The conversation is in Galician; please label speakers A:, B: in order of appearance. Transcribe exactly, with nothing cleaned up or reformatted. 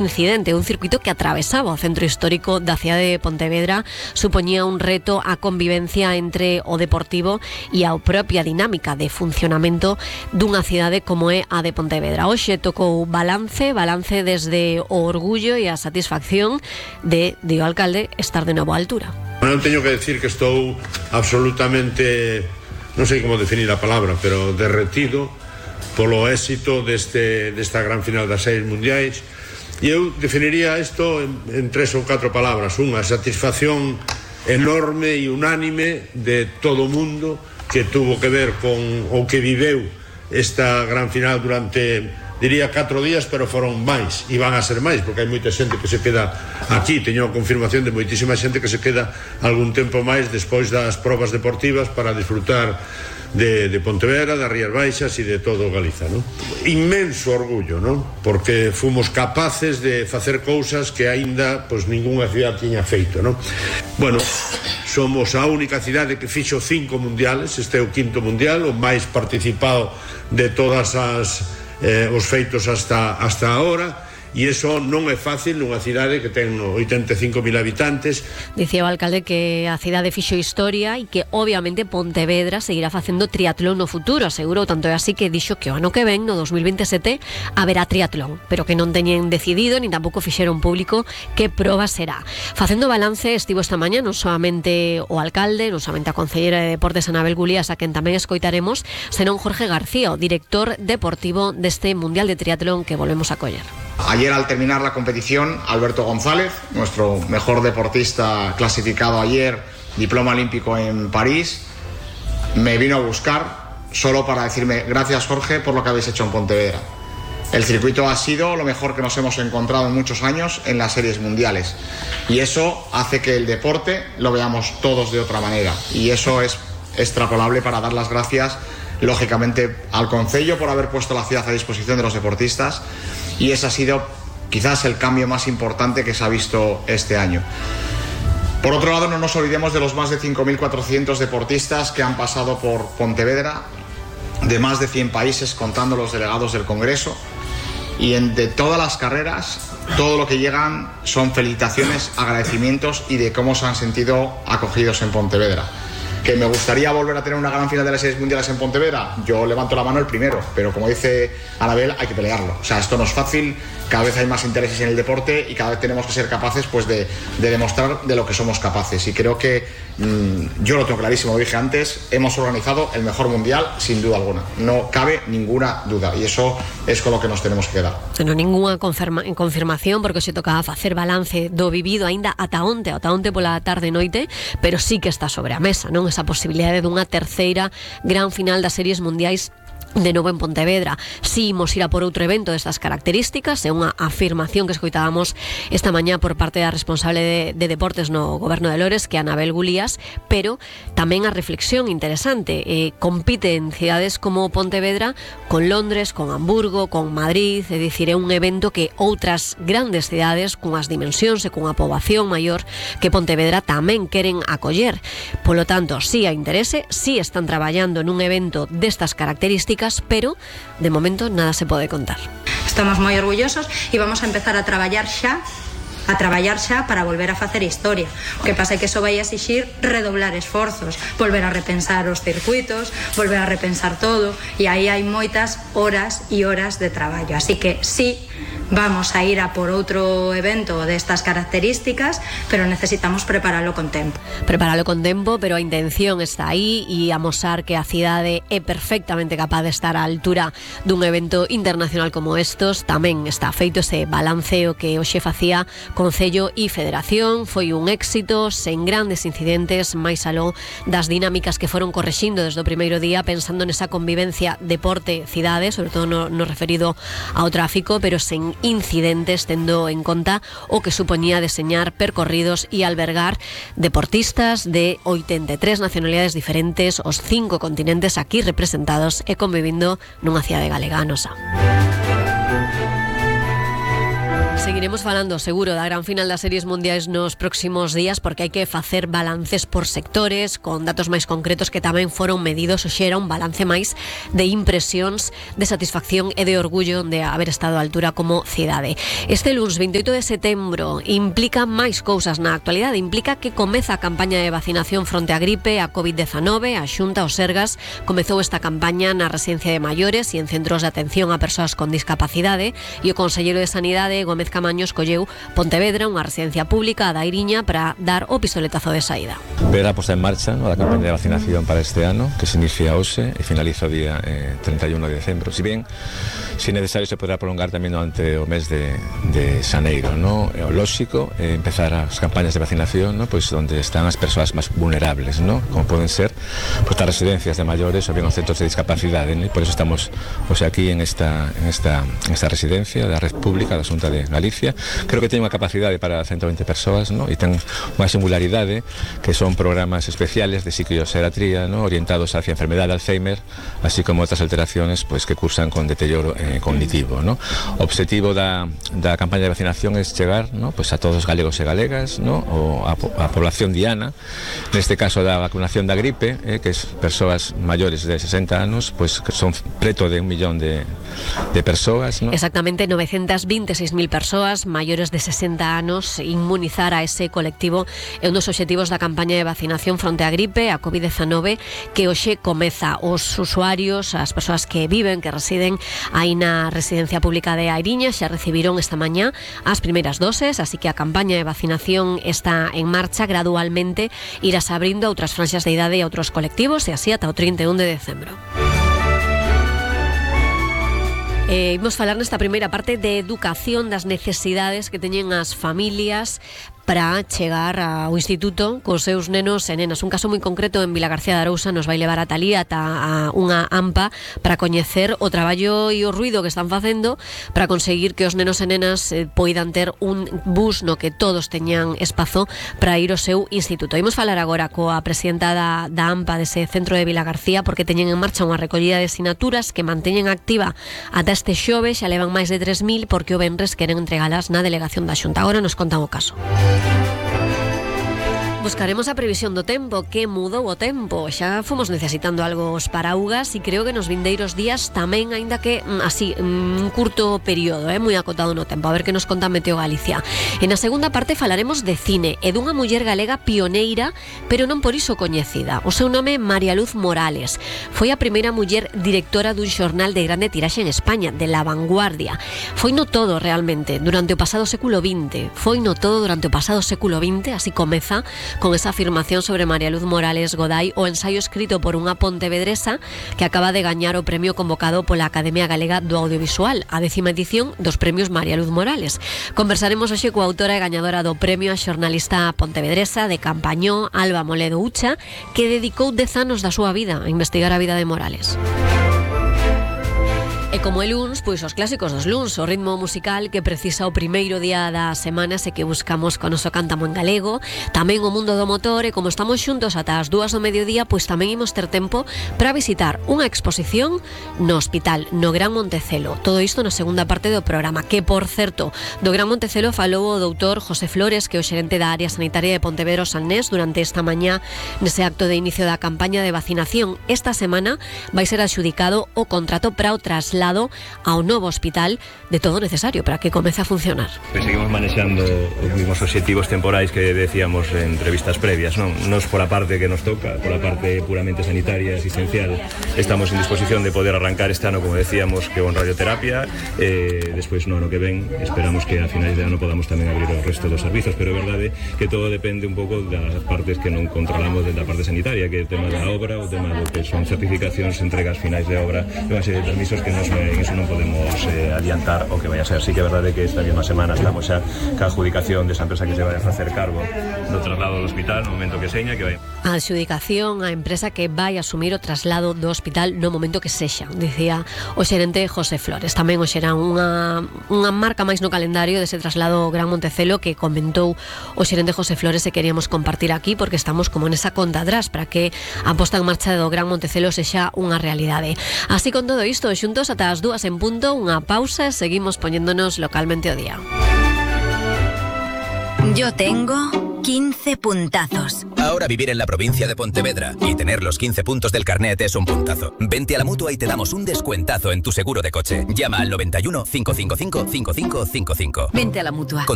A: incidente, un circuito que atravesaba o centro histórico da cidade de Pontevedra, supoñía un reto á convivencia entre o deportivo e a propia dinámica de funcionamento dunha cidade como é a de Pontevedra. Hoxe tocou balance, balance desde o orgullo e a satisfacción de, de o alcalde, estar de novo á altura.
B: Non teño que decir que estou absolutamente, non sei como definir a palabra, pero derretido polo éxito deste, desta gran final das seis mundiais. E eu definiría isto en, en tres ou catro palabras. Unha, satisfacción enorme e unánime de todo o mundo que tuvo que ver con o que viveu esta gran final durante, diría, catro días, pero foron máis, e van a ser máis, porque hai moita xente que se queda aquí. Teño a confirmación de moitísima xente que se queda algún tempo máis despois das probas deportivas para disfrutar de, de Pontevedra, das Rías Baixas e de todo Galiza, ¿no? Inmenso orgullo, ¿no? Porque fomos capaces de facer cousas que aínda pois ningunha cidade tiña feito, ¿no? Bueno, somos a única cidade que fixo cinco mundiales, este é o quinto mundial, o máis participado de todas as eh, os feitos hasta hasta agora. E iso non é fácil nunha cidade que ten oitenta e cinco mil habitantes.
A: Dicía o alcalde que a cidade fixo historia e que obviamente Pontevedra seguirá facendo triatlón no futuro. Asegurou, tanto é así que dixo que o ano que ven, no dos mil veintesete, haberá triatlón, pero que non teñen decidido ni tampouco fixeron público que proba será. Facendo balance estivo esta mañá non solamente o alcalde, non solamente a concelleira de Deportes Anabel Gulías, a quen tamén escoitaremos, senón Jorge García, o director deportivo deste Mundial de Triatlón que volvemos a coller.
C: Ayer, al terminar la competición, Alberto González, nuestro mejor deportista clasificado ayer, diploma olímpico en París, me vino a buscar solo para decirme: gracias, Jorge, por lo que habéis hecho en Pontevedra. El circuito ha sido lo mejor que nos hemos encontrado en muchos años en las series mundiales, y eso hace que el deporte lo veamos todos de otra manera, y eso es extrapolable para dar las gracias, lógicamente, al concello por haber puesto la ciudad a disposición de los deportistas. Y ese ha sido quizás el cambio más importante que se ha visto este año. Por otro lado, no nos olvidemos de los más de cinco mil cuatrocientos deportistas que han pasado por Pontevedra, de más de cien países, contando los delegados del Congreso. Y en, de todas las carreras, todo lo que llegan son felicitaciones, agradecimientos y de cómo se han sentido acogidos en Pontevedra. ¿Que me gustaría volver a tener una gran final de las series mundiales en Pontevedra? Yo levanto la mano el primero, pero como dice Anabel, hay que pelearlo. O sea, esto no es fácil, cada vez hay más intereses en el deporte y cada vez tenemos que ser capaces, pues, de, de demostrar de lo que somos capaces. Y creo que, mmm, yo lo tengo clarísimo, lo dije antes, hemos organizado el mejor mundial sin duda alguna. No cabe ninguna duda, y eso es con lo que nos tenemos que quedar.
A: Non ninguna confirma, confirmación, porque se tocaba facer balance do vivido aínda ata onte, ata onte pola tarde e noite, pero sí que está sobre a mesa, non? Esa posibilidade dunha terceira gran final das series mundiais de novo en Pontevedra. Si imos ir a por outro evento destas características, é unha afirmación que escoitábamos esta mañá por parte da responsable de, de deportes no goberno de Lores, que é Anabel Gulías, pero tamén a reflexión interesante. Eh, compite en cidades como Pontevedra con Londres, con Hamburgo, con Madrid, é dicir, é un evento que outras grandes cidades cunhas dimensións e cunha poboación maior que Pontevedra tamén queren acoller. Polo tanto, si hai interese, si están traballando nun evento destas características, pero de momento nada se pode contar.
D: Estamos moi orgullosos e vamos a empezar a traballar xa a traballar xa para volver a facer historia. O que pasa é que iso vai exixir redoblar esforzos, volver a repensar os circuitos, volver a repensar todo, e aí hai moitas horas e horas de traballo. Así que sí, vamos a ir a por outro evento destas características, pero necesitamos preparalo con tempo.
A: Preparalo con tempo, pero a intención está aí, e amosar que a cidade é perfectamente capaz de estar á altura dun evento internacional como estos. Tamén está feito ese balanceo que hoxe facía Concello e Federación. Foi un éxito, sen grandes incidentes, máis aló das dinámicas que foron correxindo desde o primeiro día, pensando nesa convivencia deporte-cidade, sobre todo no, no referido ao tráfico, pero sen incidentes, tendo en conta o que supoñía deseñar percorridos e albergar deportistas de oitenta e tres nacionalidades diferentes, os cinco continentes aquí representados e convivindo nunha cidade galega, a nosa. Seguiremos falando seguro da gran final das series mundiais nos próximos días, porque hai que facer balances por sectores con datos máis concretos que tamén foron medidos. Hoxe era un balance máis de impresións, de satisfacción e de orgullo de haber estado á altura como cidade. Este luns veintioito de setembro implica máis cousas na actualidade. Implica que comeza a campaña de vacinación fronte á gripe, a covid dezanove. A Xunta, o Sergas, comezou esta campaña na residencia de maiores e en centros de atención a persoas con discapacidade, e o conselleiro de Sanidade, Gómez Camaño, escolleu Pontevedra, unha residencia pública, a da Iriña, para dar o pistoletazo de saída.
E: Ver a posta en marcha, ¿no?, da campaña de vacinación para este ano, que se inicia hoxe e finaliza o día eh, treinta e un de decembro. Si bien, si necesario, se poderá prolongar tamén durante o mes de, de xaneiro, ¿no? É o lóxico eh, empezar as campañas de vacinación, ¿no?, pois onde están as persoas máis vulnerables, ¿no?, como poden ser pois, as residencias de maiores ou bien os centros de discapacidade, ¿no? Por eso estamos hoxe aquí en esta, en esta, en esta residencia da Red Pública da Xunta de Galicia. Creo que ten unha capacidade para ciento veinte persoas, ¿no?, e ten unha singularidade que son programas especiales de psicoxeratría, ¿no?, orientados hacia a enfermedade de Alzheimer, así como outras alteraciones pues, que cursan con deterioro eh, cognitivo, ¿no? O objetivo da, da campaña de vacinación é chegar, ¿no?, pues a todos os galegos e galegas, ¿no?, o a, a población diana, neste caso da vacunación da gripe, eh, que es persoas maiores de sesenta anos, pues que son preto de un millón de, de persoas, ¿no?
A: Exactamente novecentas veintiséis mil persoas maiores de sesenta anos. Inmunizar a ese colectivo é un dos obxectivos da campaña de vacinación fronte á gripe, a covid dezanove, que hoxe comeza. Os usuarios, as persoas que viven, que residen aí na residencia pública de Airiña, xa recibiron esta mañá as primeiras doses, así que a campaña de vacinación está en marcha. Gradualmente irás abrindo a outras franxas de idade e a outros colectivos, e así ata o trinta e un de decembro. Eh, imos falar nesta primeira parte de educación, das necesidades que teñen as familias para chegar ao instituto cos seus nenos e nenas. Un caso moi concreto en Vilagarcía de Arousa nos vai levar a Talía ata a unha AMPA para coñecer o traballo e o ruido que están facendo para conseguir que os nenos e nenas eh, poidan ter un bus no que todos teñan espazo para ir ao seu instituto. Imos falar agora coa presidenta da, da AMPA dese centro de Vilagarcía, porque teñen en marcha unha recollida de sinaturas que manteñen activa ata este xoves. Xa levan máis de tres mil, porque o venres queren entregalas na delegación da Xunta. Agora nos contan o caso. Buscaremos a previsión do tempo. Que mudou o tempo? Xa fomos necesitando algo os paraugas, e creo que nos vindeiros días tamén, aínda que así, un curto período, eh, moi acotado no tempo. A ver que nos conta Meteo Galicia. En a segunda parte falaremos de cine e dunha muller galega pioneira, pero non por iso coñecida. O seu nome é María Luz Morales. Foi a primeira muller directora dun xornal de grande tiraxe en España, de La Vanguardia. Foi no todo realmente durante o pasado século vinte. Foi no todo durante o pasado século vinte. Así comeza con esa afirmación sobre María Luz Morales Goday, o ensaio escrito por unha pontevedresa que acaba de gañar o premio convocado pola Academia Galega do Audiovisual, a décima edición dos premios María Luz Morales. Conversaremos hoxe coa autora e gañadora do premio, a xornalista pontevedresa de Campañó, Alba Moledo Ucha, que dedicou dez anos da súa vida a investigar a vida de Morales. E como é luns, pois os clásicos dos luns, o ritmo musical que precisa o primeiro día da semana, se que buscamos con oso cántamo en galego, tamén o mundo do motor. E como estamos xuntos ata as dúas do mediodía, pois tamén imos ter tempo para visitar unha exposición no hospital, no Gran Montecelo. Todo isto na segunda parte do programa, que, por certo, do Gran Montecelo falou o doutor José Flores, que é o xerente da área sanitaria de Pontevedra Salnés, durante esta mañá nese acto de inicio da campaña de vacinación. Esta semana vai ser adxudicado o contrato para o traslado ao novo hospital de todo necesario para que comece a funcionar.
F: Seguimos manexando os mismos obxectivos temporais que decíamos en entrevistas previas, non? Nos pola parte que nos toca, pola parte puramente sanitaria, asistencial, estamos en disposición de poder arrancar este ano, como decíamos, que con radioterapia, eh, despois no ano que ven esperamos que a finais de ano podamos tamén abrir o resto dos servizos, pero é verdade que todo depende un pouco das partes que non controlamos da parte sanitaria, que é o tema da obra, o tema do que son certificacións, entregas finais de obra, unha serie de permisos que nos en eso non podemos eh, adiantar o que vai a ser. Sí que é verdade que esta mesma semana estamos xa ca adjudicación desa empresa que se vai a facer cargo do traslado do hospital no momento que seña que vai.
A: A adjudicación á empresa que vai asumir o traslado do hospital no momento que sexa, dicía o xerente José Flores. Tamén o xera unha, unha marca máis no calendario dese traslado ao Gran Montecelo que comentou o xerente José Flores, e queríamos compartir aquí porque estamos como nesa conta atrás para que a posta en marcha do Gran Montecelo sexa unha realidade. Así, con todo isto, xuntos ata as dúas en punto, unha pausa e seguimos poñéndonos localmente o día.
G: Yo tengo quince puntazos.
H: Ahora vivir en la provincia de Pontevedra y tener los quince puntos del carnet es un puntazo. Vente a la Mutua y te damos un descuentazo en tu seguro de coche. Llama al noventa y uno, cinco cinco cinco, cinco cinco cinco cinco.
G: Vente a la Mutua.
H: Con